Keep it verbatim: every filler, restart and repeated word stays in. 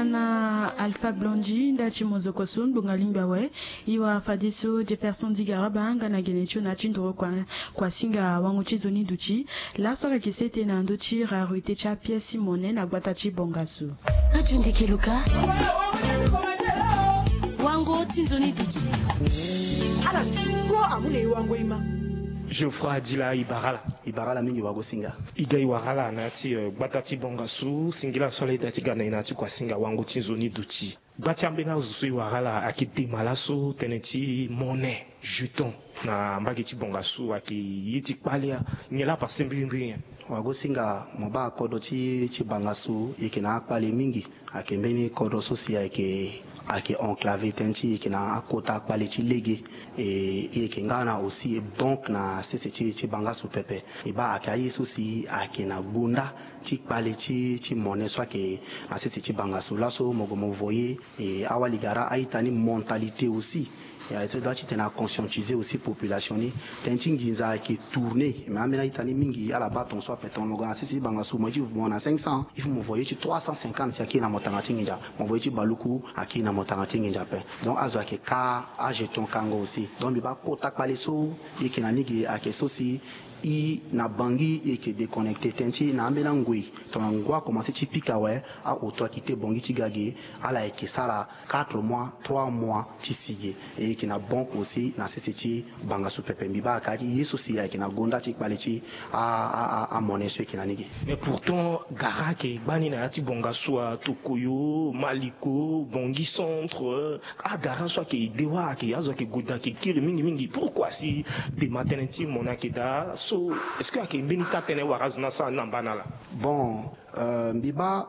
Na Alpha Blondy nda ti mozoko so ngbonga lingbi awe. E wara fadeso Jefferson Zigaraba nga na gene ti lo na ya ti ndoro kua, kuasinga wango ti nzoni duti. Laso ala yeke sete na ndö ti rareté ti apièce ti monnaie na gbata ti Bangassou. Radio Ndeke Luka. Wango ti nzoni duti. Ala ti ko amu na e wango e ma. Geoffroy Adila, e bara ala. E bara ala mingi wagosinga. E ga e wara ala na ya ti, eh, gbata ti Bangassou, singila so ala ita ti ga na e na ya ti kuasinga wango ti nzoni duti. Gba ti ambeni azo so e wara ala ayeke dema laso tënë ti monnaie, jeton, na mbage ti Bangassou ayeke ye ti kpale. Nyen laa pase mbirimbiri nyen? Wagosinga, mo baa kodro ti, ti Bangassou e yeke na akpale mingi. Ayeke mbeni kodro so si ayeke, ayeke enclavé tënë ti e yeke na akota kpale ti lege. E, e yeke nga na aussi banque na sese ti, ti Bangassou pepe. E baa ayeke aye so si ayeke na gonda ti kpale ti, ti monnaie so ayeke na sese ti Bangassou. Laso mo gue mo voye, e, awali gara a-ita ni mentalité aussi. Ya, e so doit titene a conscientiser aussi population ni. Tënë ti nginza ayeke tourner. Mais ambeni a-ita ni mingi ala baa tongaso ape. Tongana mo gue na sese ti Bangassou, mo ye ti mo na cinq cents, il faut mo voye ti trois cent cinquante si ayeke na mo tanga ti nginza. Mo voye ti baluku ayeke na mo tanga ti nginza ape. Donc azo ayeke ka ajeton kango aussi. Donc mbi baa kota kpale so e yeke na ni ge ayeke so si e na Bangui e yeke déconnecté tënë ti na ambeni angoi. Tongana ngu akomanse ti pika awe, aoto akite Bangui ti ga ge, ala yeke sara quatre mois, trois mois ti si ge. E yeke na banque aussi na sese ti Bangassou pepe. Mbi baa kâ ti ye so si ayeke na gonda ti kpale ti a, a, a, amonnaie so e yeke na ni ge. Mais pourtant gara ayeke gbani na ya ti Bangassou, Tokoyo, Maliko, Bangui Centre, agara so ayeke de wâ, ayeke azo ayeke gue daa, ayeke kiri mingi mingi. Pourquoi si dema tënë ti monnaie ayeke daa so? Est-ce que ayeke mbeni taa-tënë wala azo ni asara ni na mbana laa? Bon, euh, mbi baa